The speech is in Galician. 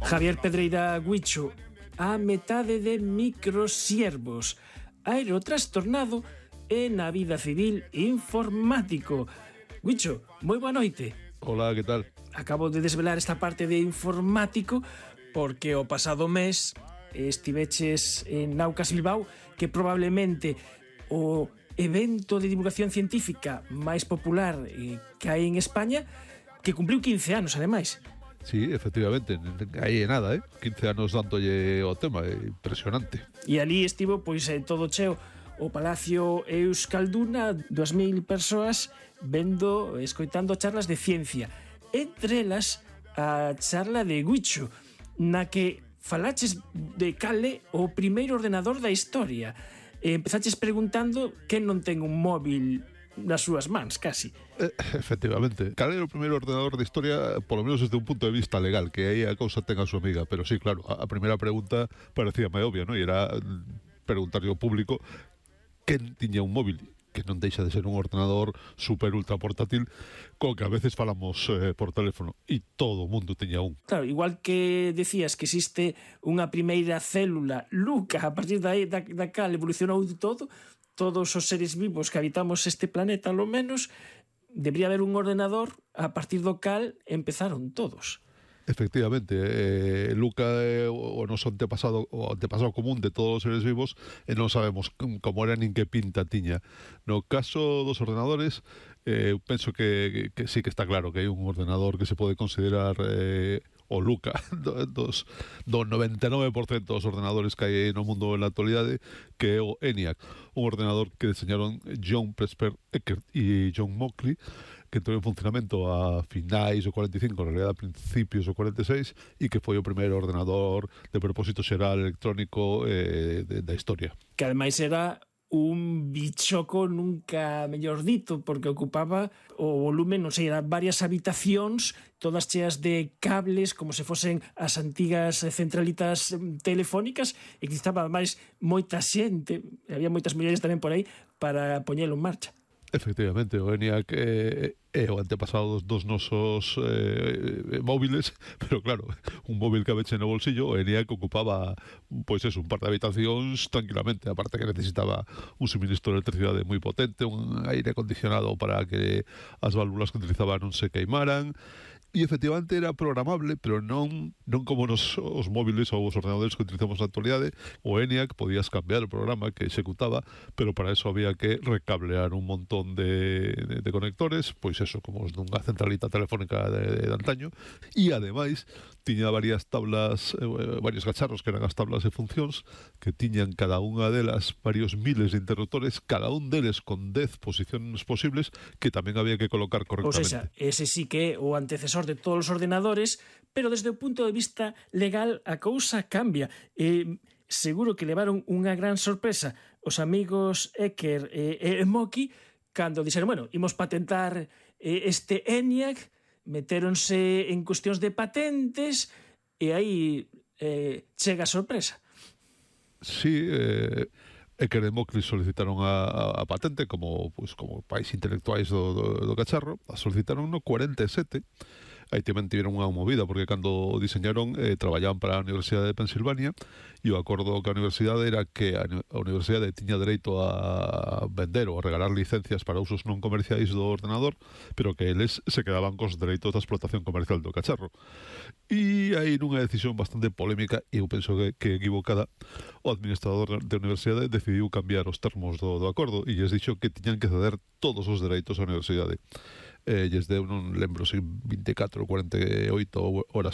Javier Pedreira Guicho, a metade de microsiervos, aerotrastornado e na vida civil informático. Guicho, moi boa noite. Hola, que tal? Acabo de desvelar esta parte de informático porque o pasado mes estiveches en Naucas Bilbao, que probablemente o evento de divulgación científica máis popular que hai en España, que cumpliu 15 anos, ademais. Sí, efectivamente, aí é nada, 15 anos dándolle o tema, impresionante. E ali estivo, pois, todo cheo o Palacio Euskalduna, 2000 persoas vendo, escoitando charlas de ciencia. Entre elas, a charla de Guicho, na que falaches de cale o primeiro ordenador da historia. Empezaches preguntando que non ten un móvil nas súas mans, casi. Efectivamente. Cal era o primeiro ordenador de historia, polo menos desde un punto de vista legal, que aí a cousa ten a súa amiga, pero sí, claro, a primeira pregunta parecía moi obvia, non? E era preguntarlle ao público quen tiña un móvil, que non deixa de ser un ordenador super ultra portátil, co que a veces falamos por teléfono, e todo o mundo tiña un. Claro, igual que decías que existe unha primeira célula, Luca, a partir da cal evolucionou todo, todos os seres vivos que habitamos este planeta, ao menos, debería haber un ordenador a partir do cal empezaron todos. Efectivamente, Luca é o noso antepasado común de todos os seres vivos e non sabemos como era nin que pinta tiña. No caso dos ordenadores, penso que sí que está claro que hai un ordenador que se pode considerar o Luca do 99% dos ordenadores que hai no mundo na actualidade, que é o ENIAC, un ordenador que diseñaron John Presper Eckert e John Mauchly, que entrou en funcionamento a finais do 45, en realidad a principios do 46, e que foi o primeiro ordenador de propósito xeral electrónico da historia. Que ademais era un bichoco nunca mellor dito, porque ocupaba o volumen, non sei, eran varias habitacións, todas cheas de cables, como se fosen as antigas centralitas telefónicas, e que estaba máis moita xente, había moitas mulleres tamén por aí, para poñelo en marcha. Efectivamente, o ENIAC é o antepasado dos nosos móviles, pero claro, un móvil que veche no bolsillo, o ENIAC ocupaba, pois eso, un par de habitacións tranquilamente, aparte que necesitaba un suministro de electricidade moi potente, un aire acondicionado para que as válvulas que utilizaba non se queimaran, e efectivamente era programable, pero non como os móviles ou os ordenadores que utilizamos na actualidade. O ENIAC podías cambiar o programa que executaba, pero para eso había que recablear un montón de conectores, pois eso, como os dunha centralita telefónica de antaño, e ademais tiña varias tablas, varios cacharros que eran as tablas de funcións, que tiñan cada unha delas varios miles de interruptores, cada un deles con 10 posicións posibles, que tamén había que colocar correctamente. Ou seja, ese sí que é o antecesor de todos os ordenadores, pero desde o punto de vista legal a cousa cambia. Seguro que levaron unha gran sorpresa os amigos Eckert e Mauchly cando dixeron, bueno, imos patentar este ENIAC, metéronse en cuestións de patentes e aí chega a sorpresa. Sí, Eckert e Mauchly solicitaron a patente como pais intelectuais do cacharro, a solicitaron no 47. Aí tamén tiveron unha movida, porque cando o diseñaron traballaban para a Universidade de Pensilvania, e o acordo que a universidade era que a universidade tiña dereito a vender ou a regalar licencias para usos non comerciais do ordenador, pero que eles se quedaban cos dereitos da explotación comercial do cacharro. E aí nunha decisión bastante polémica, e eu penso que equivocada, o administrador da universidade decidiu cambiar os termos do acordo e lles dixo que tiñan que ceder todos os dereitos á universidade. Lles deu, non lembro se 24 ou 48 horas